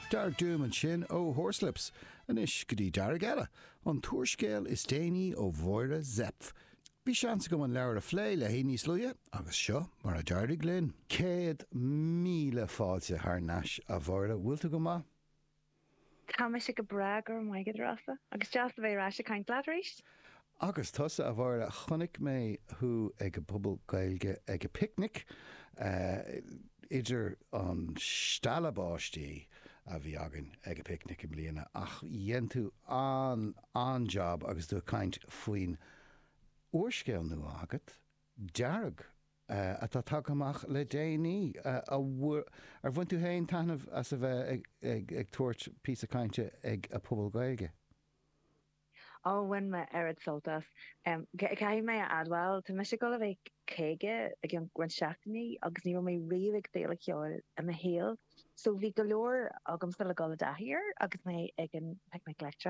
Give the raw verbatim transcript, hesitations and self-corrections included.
Dark Doom ansin ó Horslips, anois go dtí Dearg eile, an t-úrscéal is déanaí ó Mháire Zepf. Bhí seans agam an leabhar a phlé léi níos luaithe agus seo mar a d'éirigh linn. Céad míle fáilte thar n-ais a Mháire, bhfuil tú go maith? Tá mise go breá go raibh maith agat Rossa, agus deas a bheith ar ais ag caint leat arís. Agus tusa a Mháire, chonaic mé thú ag an bPuball Gaeilge ag an bPicnic idir an stealladh báistí a bhí againn ag an bPicnic i mbliana ach dhein tú an an-jab agus tú ag caint faoin úrscéal nua agat, Dearg, atá tagtha amach le déanaí. Ar bhain tú féin taitneamh as a bheith ag tabhairt píosa cainte ag an Phuball Gaeilge? Ó, bhain mé oiread sult as. Caithfidh mé a admháil, tá mise ag dul a bheith caoga i gceann roinnt seachtainí agus ní raibh mé riamh ag féile cheoil i mo shaol. So bhí go leor agamsa le dul i dtaithí air agus mé ag an Picnic Leictreach.